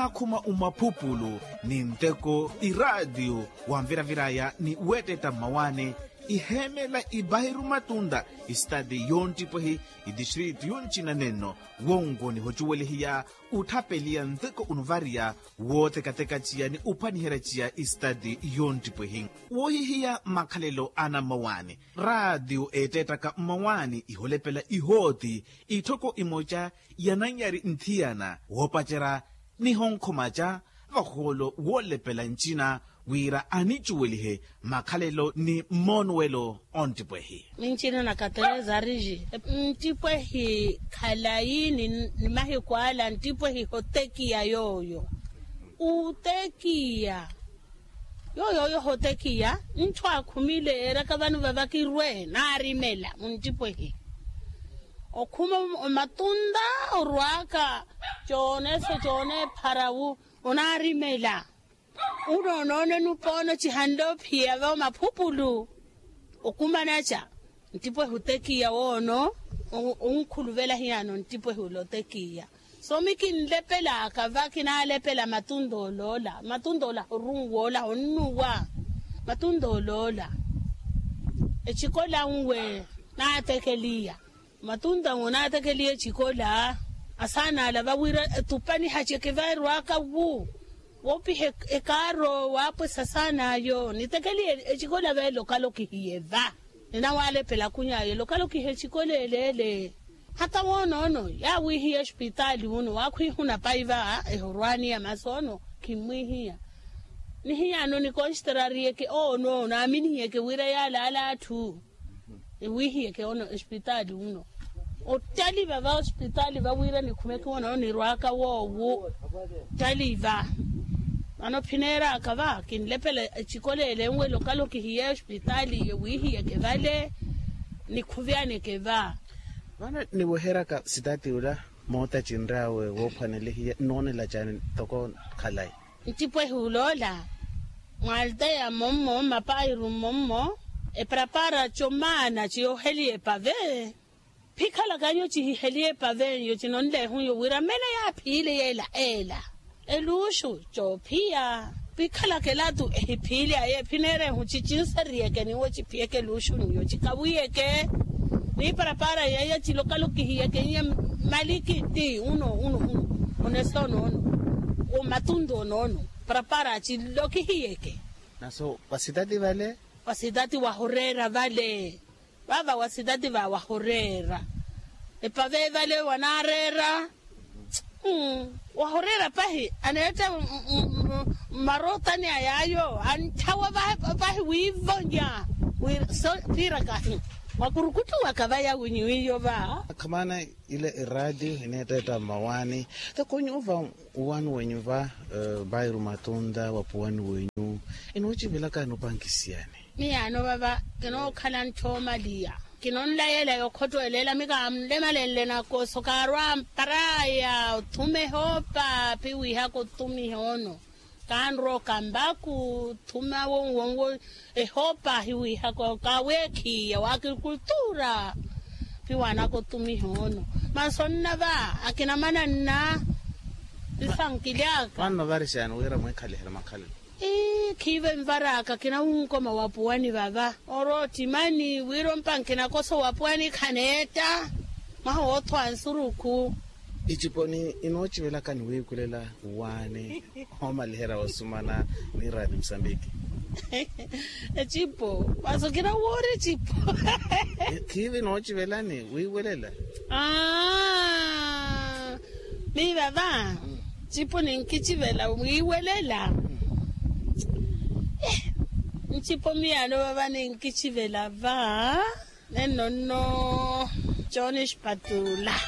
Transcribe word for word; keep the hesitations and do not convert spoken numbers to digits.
Akhuma umaphupulu ni nteko iraatiyo wanviraviraya ni weettetta mmawaani. Iheemela ibahiru matunta isitati yonttipwehi itistritu yoncina nenno. Wonko nihocuwelihiya utthapeliya nteko unuvariya wootekateka ciya ni uphwaniherya ciya isitati yonttipwehi. Woohihiya makhalelo ana mmawaani raatiyo eettettaka mmawaani iholepela ihooti itthoko imoca yananyari nthiyana woopacerya nihonkhoma ca vahoolo woolepela ncina wira anicuwelihe makhalelo ni mmoonuwelo. Onttipwehi. Mincina na katereza ariji nttipwehi khalayi ni mahiku ala nttipwehi hotekiya yooyo. Utekiya yooyo oyo hotekiya ntthu akhumile eraka vano vavakirwe naarimela munttipwehi. Okhuma omatunta orwaka coonese coonepharawu onaarimela. Uno onoonene upoono cihanle ophiya va omaphupulu. Okumanaca nttipwehi otekiya woono onkhuluvela hiyano nttipwehi ole otekiya. Soomi kinlepelaka va kinaalepela matunta oloola matunta ola horunwoola honnuwa. Matunta oloola ecikola nwe naatekeliya. Matunta nwe naatekeliya ecikola asaana ala vawira etupani haceke vaerwaka wu woopiha ekaaro waapwesa saana ayo nitekeliye. Ecikola veele okalokihiye va ninawalepela akuny'ayo lokalokiha ecikola eleele. Hata woonoono yaawihiya ospitaali uno waakhwiihuna pai va ehorwaani ya masi ono khimmwihiya. Nihiyano nikonstrariyeke ono naaminihiyeke wira yaalaala atthu. Ewiihiyeke ono ospitaali uno ottaliva va ospitaali va wira nikhumeke ono nirwaka woowo. Ottaliva vano phineeraka va kinlepela ecikola ele enwela okalokihiye ospitaali ewiihiyeke vale. Nikhuvyaneke va vano niweheryaka sitati ula mootacinryawe woophwanelihiya nnoonela caani ntoko khalayi. Nttipwehi uloola mwaalteya mmommo mmapairu mmommo eparapara comaana ciyooheliya epave. Phikhalaka nyo cihiheliya epavenyo cinonleehunyo wira mmene yaaphiile yeela eela eluuxu coophiya. Phikhalaka elatu ehiphiile aye phineerehu cicinsariyeke niwo ciphiyeke eluuxu niyo cikawiyeke. Niparapara yeeya cilokalokihiyekenye malikiti uno uno uno onese onoono omatuntu onoono parapara cilokihiyeke. Naso vasitati vale vasitati wahoreera vale. Vava wasitati va wahoreera epave vale wanaareera. Wahoreera pahi aneetta mmarootani a yaayo antthawa pahi wiivonya. Piiraka mwakurukuttuwaka vaya winyu iyo va. Akhamana ile eraatiyo eneetteetta mmawaani. Te konyuva uwani wenyu va bairu matunta wapuwani wenyu inoocivelaka inopankisiyani. Miyaano vava kinookhala ntthoomal'iya kinonlayela yokhotwelela mikaamlemalenle nakoso kaarwa amparaya othuma ehoopa piwihaka otumiha ono. Kaanroka mbaku thuma wonwonwo ehoopa ahiwihaka okaweekhiya wa agrikultura. Piwanaka otumiha ono manso nnava akina mananna. Pisankilyaka. Manno varixani wira mweekhaliherya makhalelo. Ii khiive nvaraka kinawonkoma wapuwani vava oroottimani wira ompanke nakoso wapuwani khaneetta. Mwaha woothwa nsurukhu. Iciponi inoocivelaka ni wiikulela wuwaani oomaliherya osumana ni raati musambiki. Ecipo masu kinawoori ecipo. Khiive inoocivelani wiiwelela. Aa miiva va ncipo ninkicivela wiiwelela. Ncipo miyaano vava ninkicivela va nenno nno. Cooni xipatula.